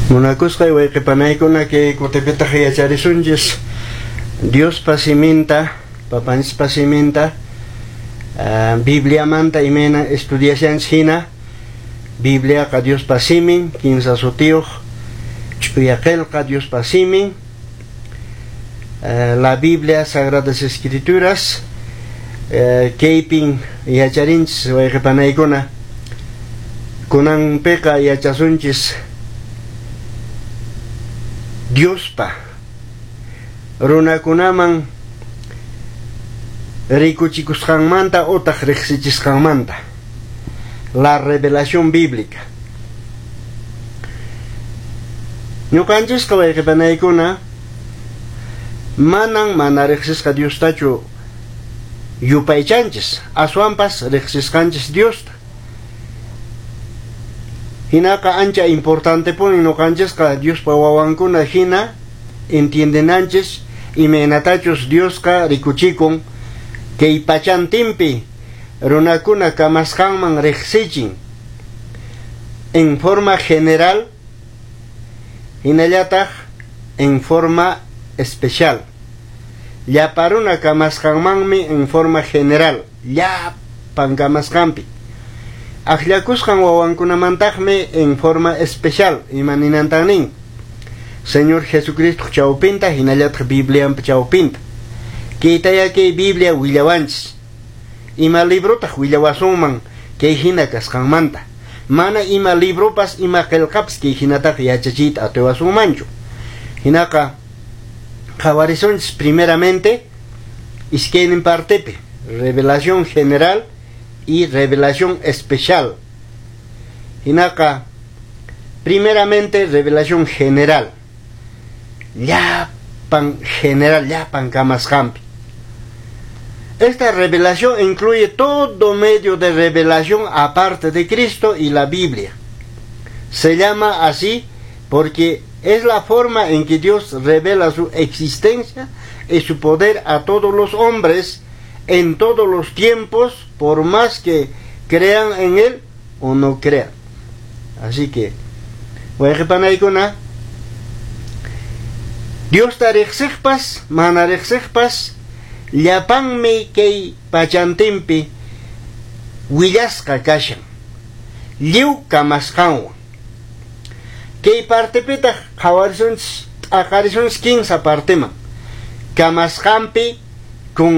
Munakusqay wayqipanaykuna kay kutipitaq yacharisunchis Diospa siminta, papanchispa siminta, Bibliamanta imayna estudiashanchis hina, Bibliaqa Diospa simin, kinsa sutiyuq, ch'uya qillqa Diospa simin, la Biblia, Sagradas Escrituras, kaypin yacharinchis wayqipanaykuna, kunanpiqa yachasunchis Diospa runakunaman rikuchikusqanmanta utaq riqsichisqanmanta, la revelación bíblica. Ñuqanchisqa wayqipanaykuna manan mana riqsisqa Diostachu yupaychanchis, aswanpas riqsisqanchis Diosta. Hinaqa ancha importantepuni ñuqanchisqa Diospa wawankuna hina entiendenanchis imaynatachus Diosqa rikuchikun kay pachantinpi runakuna kamasqanman riqsichin en forma general hinallataq en forma especial. Llapa runa kamasqanmanmi en forma general, llapan kamasqanpi. Akllakusqan wawankunamantaqmi en forma especial, ima ninantan nin. Señor Jesucristo chawpinta hinallataq Bibliampa chawpinta. Kaytaya kay Biblia willawanchis. Ima librotaq willawasunman kay hina kasqanmanta. Mana ima libropas ima qillqapas kay hinataqa yachachiyta atiwasunmanchu. Hinaqa qhawarisunchis primeramente iskaynin partepi, revelación general y revelación especial. Hinaqa primeramente revelación general. Llapan general, llapan kamasqanpi. Esta revelación incluye todo medio de revelación aparte de Cristo y la Biblia. Se llama así porque es la forma en que Dios revela su existencia y su poder a todos los hombres en todos los tiempos, por más que crean en Él o no crean. Así que, wayqipanaykuna, Diosta riqsiqpas, mana riqsiqpas, llapanmi kay pachantinpi willasqa kashan, lliw kamasqanwan. Kay partepitaq qhawarisunchis, t'aqarisunchis kinsa parteman. Kamasqanpi con